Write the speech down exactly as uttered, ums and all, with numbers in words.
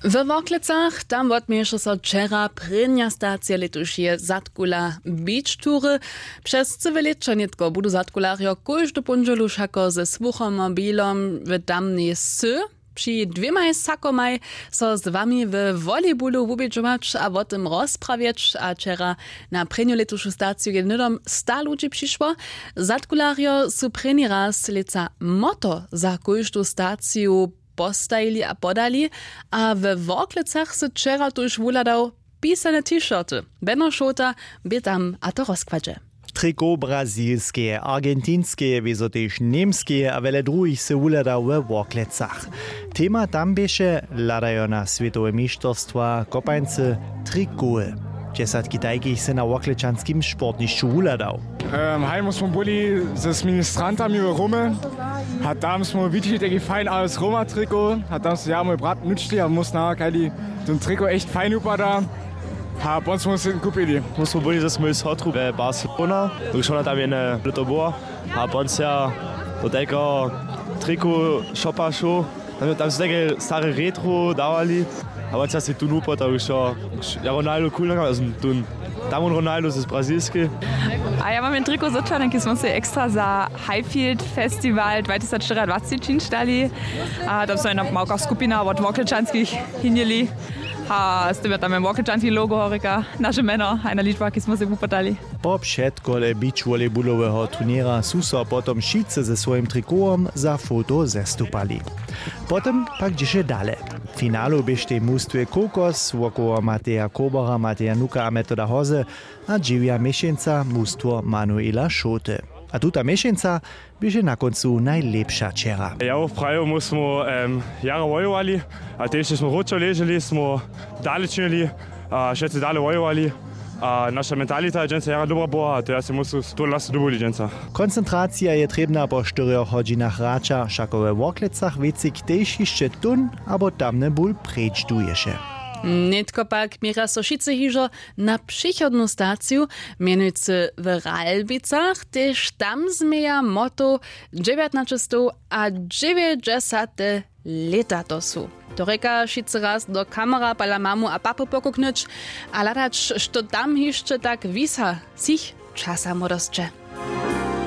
We Worklecach tam wotměješe so wčera prěnja stacija lětušeje zadkula beach tury. Přez cyłe lěćo nětko budu zadkularjo kóždu póndźelu wšako ze słuchomobilom w tamnej sy při dwěmaj sakomaj so z wami we volejbulu wubědźować a wo tym rozprawjeć. A wčera na prěnju lětušu staciju je hnydom sta ludźi přišło. Zadkularjo su prěni raz lětsa moto za kóždu staciju postajili a podali. A we Worklecach sy wčera tuž wuhladał pisane t-shirty. Beno Šołta bě tam a to rozkładźe. Triko brazilskeje, argentinskeje wězo tež němskeje a wjele druhich sy wuhladał we Worklecach. Tema tam běše hladajo na swětowe mišterstwa kopańcy trikowy. Dźesatki tajkich sy na worklečanskim sportnišću wuhladał. Haj mu smo byli z ministrantami w Rome a tam smo widźeli taki fajn alles Roma triko a tam so ja mój brat nučli a mu snahakali, ten triko echt fajn wupada. A pon smo se kupili. Mu smo byli ze swojej sotru we Barcelona, dokelž ona tam jedne lěto była. A pon se ja do tajkeho triku shopa šoł. Tam, tam su tajke stare retro dawali. A won se ja si tu nupo to wšo. Ja Ronaldo cool nakam, also tun tam on Ronaldo z brazilski. A ja mam jen triko z Očany, ki smo se ekstra za Highfield Festival dwa tysac štyriadwacci činčtali. A tam so jedna małka skupina wot worklečanskich hinjeli. A z tym je tam jen worklečanski logo horika, naše mjeno a jedna ličba, ki smo se wupytali. Po předkole beach volejbuloweho turněra su so potom wšitcy ze swojim trikowom za foto zestupali. Potom pak dźěše dale. W finalu běštej mustwje Kokos wokoło Mateja Kobora, Mateja Nuka a Metoda Hoze a dźewja měšeńca mustwo Manuela Šołty. A tuta měšeńca běše na kóncu najlěpša wčera. Ja woprawju mu smo jara wojowali a tež smo wróćo leželi, smo dale činili a wšetcy dale wojowali. A naša mentalita je dźensa jara dobra była a to ja se musu to lasu dubuli dźensa. Koncentracija je trěbna po štyrjoch hodźinach hraća, wšako we Worklecach wěcik tež hišće tón abo tamny bul preč duješe. Nětko pak měrja so wšitcy hižo na přichodnu staciju, mjenujcy w Ralbicach, tež tam změja moto dźewjatnaćestow a dźewjećdźesate lěta to su. To rěka wšitcy raz do kamera pala mamu a papy pokuknyć a hladać, što tam hišće tak wisa z jich časa młodosće.